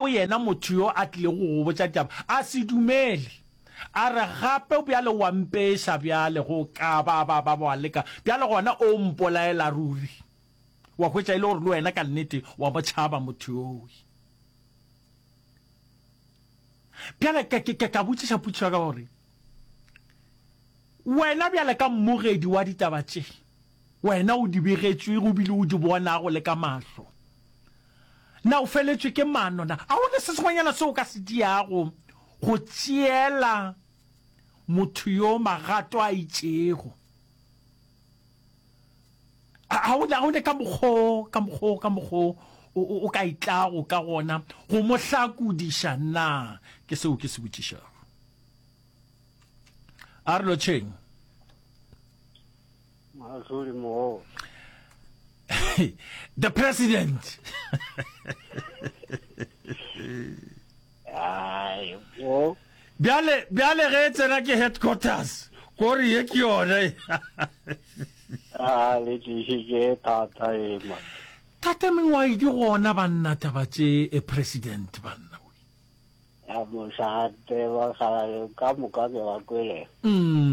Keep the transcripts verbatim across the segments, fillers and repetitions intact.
Yena motho yo a tlilego go go botša ditaba a se dumele, a re, Gape bjale o a mpeša bjale, go ka ba ba ba wa leka bjale gona o mpolaela ruri. Wa hwetša e le gore le wena ka nnete wa mo tšhaba motho yowe. Bjale ke, ke, ke ka botšiša potšišo ya ka gore, Wena bjale ka mmogedi wa ditaba tše, wena o di begetšwego ebile o di bonago le ka mahlo, na o feletšwe ke maano? Na ga go na se sengwenyana seo o ka se diago go tšeela motho yo magato a itšego? Ga go na, ga go na ka mokgo, ka mokgo, ka mokgo o, o, o ka itlago ka gona go mo hlakodiša na? Ke seo ke se botšišago. A re lotšheng. Mahlodi mogolo. The president. Ai, o. Bjale, bjale ge e tsena ke headquarters, kore ye ke yone. A le tlišitše thata e man. Tate mengwae di gona banna taba tše e president banna. Ya mošate bakgalabje ka moka ke ba kwele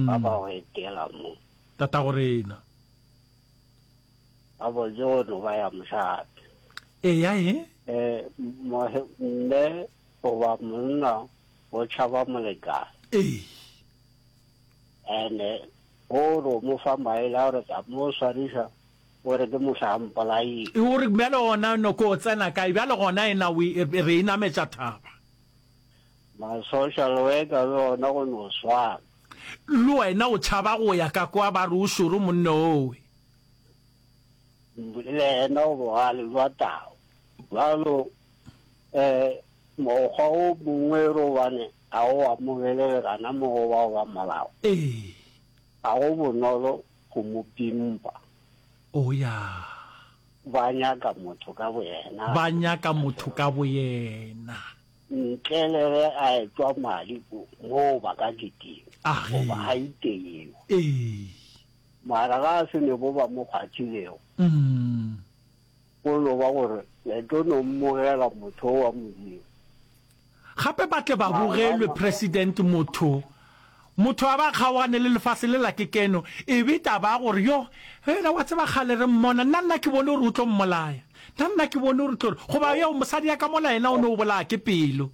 ba ba go etela mo. Tatago rena. Ba botse go no ba ya mošate. Eya e. Eh, mme goba monna o tšhaba molekane. Ee. Ene o re o mo fa maele a gore tla mo swariša o re ke mohla a mpolaile. O re bjale gona noko o tsena kae bjale gona ena o e, re e nametša thaba. Ma social worker le ona go no swana. Le wena o tšhaba go ya ka kwa ba re o šoro monna owe. Le yena o bogale bja tau. Bjalo um mokgwa o mongwe re gobane ga o amogelege gana mo go bao ba molao. Ee. Ga go bonolo go mo pimpa. O ya. Ba nyaka motho ka boyena. Ba nyaka motho ka boyena. Ntle le ge a etšwa madi moo ba ka kitima. A ge. Goba a iteiwa. Ee. Mara ga a se ne bo ba mo kgwathilego. Mm. Go no ba gore le tlo no mmogela motho wa Modimo. Gape ba tle ba bogelwe president motho motho a ba kgaogane le lefase lela ke keno e be taba ya gore yo yena wa tseba kgale re mmona nna nna ke bone gore o tlo mmolaya nna nna ke bone gore o tlo re goba yo mosadi ya ka mola yena o no o bolaya ke pelo.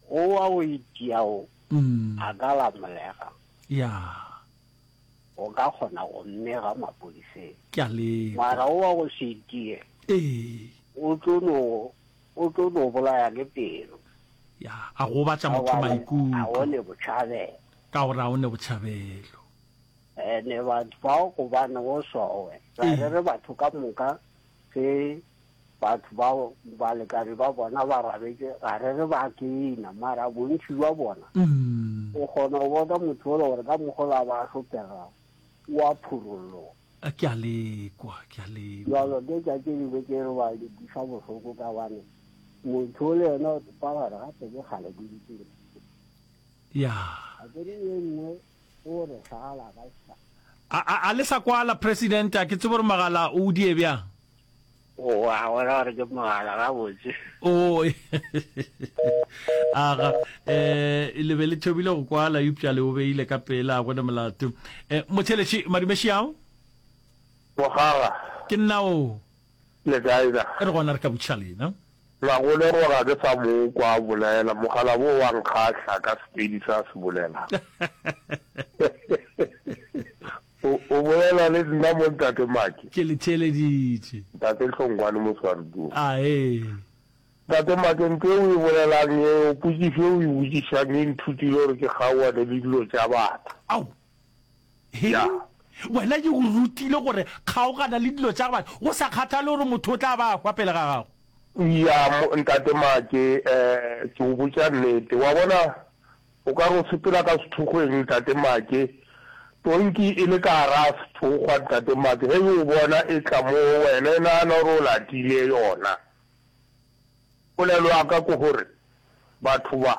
Go wa go itia o a ka lamolega. Ya. O ka kgona go mmega mapodiseng. Ke a lekwa. Mara o wa go se itie. Ee. O tlo no O tlo no bolaya ke pelo. Ya, a gobatša motho maikutlo. A o ne botšhabelo. Ka gore a o ne botšhabelo. Ene batho bao gobane go sowe. Ga re re batho ka moka ge batho bao balekane ba bona ba rabetše ga re re ba kena mara bontši bja bona o kgona go bona motho yola gore ka mokgwa o a ba hlopegago o a phurolloga. A ke a lekwa, ke a lekwa. Bjalo ke tša tše dingwe tše re ba di kweša bohloko ka gobane motho o le yena o tsepa gore gape ke kgale ke dutše le Ya. A ke re ye nngwe o re šala ka sa. A, a, a le sa kwala, President, a ke tsebe gore mogala o die bjang. O a bona gore ke mogala gabotse. O, aga, eh, le be le thomile go kwala, eupša le o beile ka pela, a gona molato. Eh, motheletši, madumeši ao? Mogala. Ke nna o. Le kae na? Re gona re ka botšiša lena. Magolego ga ke sa mo kwa a bolela, mogala wo wa nkgahla ka Sepedi se a se bolelang. O, o bolela le nna mo Ntate Maki? Ke le theeleditše. Ntate Hlongwane Moswarudung. A ee. Ntate Maki, ntho e o e bolelang yeo, potšišo e o e botšišang e nthutile gore ke kgaoane le dilo tša batho. Ao. He? Ya. Wena ke go rutile gore kgaogana le dilo tša batho, go sa kgathale gore motho o tla ba a hwa pele ga gago. Ya, mo, Ntate Maki, eh, ke go botša nnete. Wa bona, O ka re o sepela ka sethokgweng, Ntate Make. Tonki e le ka gara sethokgwa, Ntate Make. Ge e o bona e tla mo go wena, e nagana gore o latile yona. Polelo ya ka ke gore, batho ba,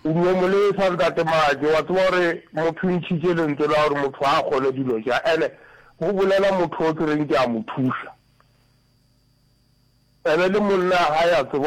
o no mo lesa, Ntate Make. Wa tseba gore motho o ntšhitše lentswe la gore motho ga a kgone dilo tša. Ene go bolela motho o ke reng ke a mo thuša. Ene le monna gae a tseba